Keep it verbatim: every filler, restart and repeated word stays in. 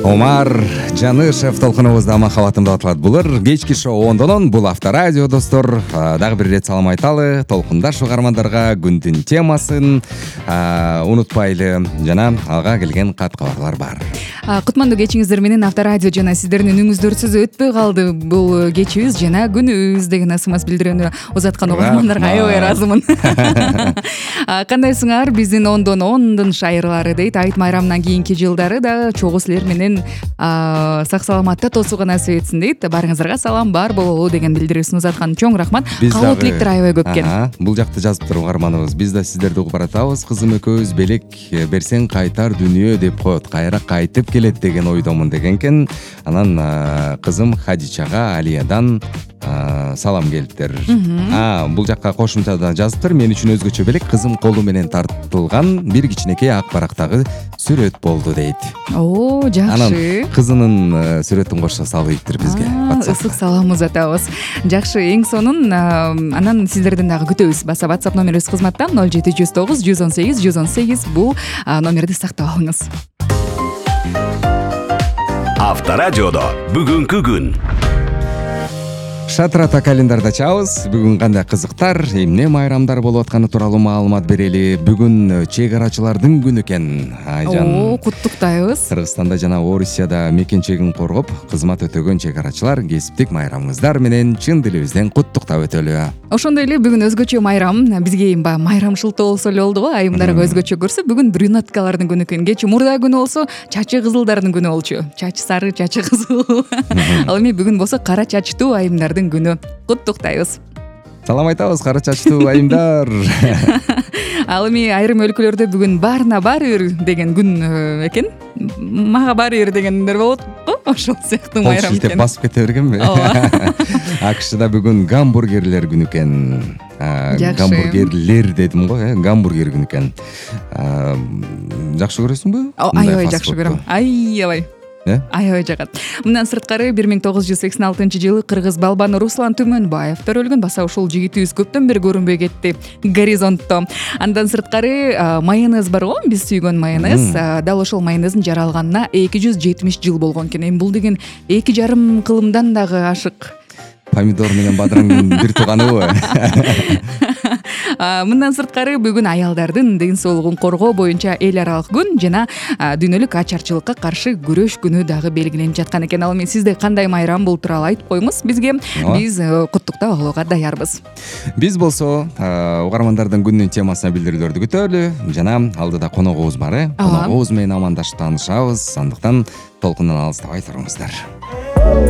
Омар Жанышев толкунубузда махабатымды атылат булар. Кечки шоу ондонон бул авторадио достор. Дагы бир рет салам айталы. Толкундаш угармандарга күндүн темасын унутпайлы. Жана алга келген кат кабарлар бар. Кутмандуу кечиңиздер менен авторадио жана сиздердин үнүңүздөрсүз өтпөй калды бул кечибиз жана күнүбүз деген ысымас билдирүүнү узаткан угармандарга аябай ыраазымын. Кандайсыңар? Биздин ондон ондун шайырлары дейт. Айт майрамынан кийинки жылдары да чогуу силер менен сак саламатта тосууга насип этсин дейт. Баарыңыздарга салам бар бололу деген билдирүүсүн узаткан чоң рахмат. Кабыл тилектер аябай көп экен. Бул жакта жазып туруп угарманыбыз. Биз да сиздерди угуп баратабыз. Кызым экөөбүз белек берсең кайтар дүнүйө деп коет. Кайра кайтып келет деген ойдомун деген экен. Анан кызым Хадичага Алиядан салам келиптир. А, бул жакка кошумчада жазыптыр. Мен үчүн өзгөчө белек кызым колу менен тартылган бир кичинекей ак барактагы сүрөт болду дейт. О, жакшы. Анан кызынын сүрөтүн кошо салыптыр бизге. Ысык салам узатабыз. Жакшы, эң сонун анан сиздерден дагы күтөбүз. Баса WhatsApp номерибиз кызматта ноль жети жүз тогуз жүз он сегиз жүз он сегиз. Бул номерди сактап алыңыз. Авторадиодо бүгүнкү күн. Шатрата календарда чабыз. Бүгүн кандай кызыктар, эмне майрамдар болуп атканы тууралуу маалымат берели. Бүгүн чек арачылардын күнү экен. Айжан. О, куттуктайбыз. Кыргызстанда жана Орусияда мекен чегин коргоп, кызмат өтөгөн чек арачылар кесиптик майрамыңыздар менен чын дилибизден куттуктап өтөлү. Ошондой эле бүгүн өзгөчө майрам. Бизге баягы майрамчылтоо болсо эле болду го. Айымдарга өзгөчө көрсө, бүгүн брюнеткалардын күнү экен. Кечээ мурда күнү болсо, чачы кызылдардын күнү болчу. Чачы сары, чачы кызыл. Ал эми бүгүн болсо кара чачтуу айымдардын күнү. Куттуктайбыз. Салам айтабыз кара чачтуу айымдар. Ал эми айрым өлкөлөрдө бүгүн баарына баары бир деген күн экен. Мага баары бир дегендер болот го. Ошол сыяктуу майрам экен. Шилтеп басып кете бергенби? АКШда бүгүн гамбургерлер күнү экен. Гамбургерлер дедим го, э, гамбургер күнү экен. Жакшы көрөсүңбү? Аябай жакшы көрөм. Аябай. Аябай жагат. Мындан сырткары бир миң тогуз жүз сексен алтынчы жылы кыргыз балбаны Руслан Түмөнбаев төрөлгөн. Баса ушул жигитибиз көптөн бери көрүнбөй кетти горизонтто. Андан сырткары майонез бар го, биз сүйгөн майонез. Дал ошол майонездин жаралганына эки жүз жетимиш жыл болгон экен. Эми бул деген эки жарым кылымдан дагы ашык. Помидор менен бадыраңдын бир тууганыбы? Мындан сырткары бүгүн аялдардын ден соолугун коргоо боюнча эл аралык күн жана дүйнөлүк ачарчылыкка каршы күрөш күнү дагы белгиленип жаткан экен. Ал эми сизде кандай майрам бул тууралуу айтып коюңуз бизге. Биз куттуктап алууга даярбыз. Биз болсо угармандардын күнүнүн темасына билдирүүлөрдү күтөлү жана алдыда коногубуз бар, э? Коногубуз менен амандашып таанышабыз. Андыктан толкундан алыстабай туруңуздар.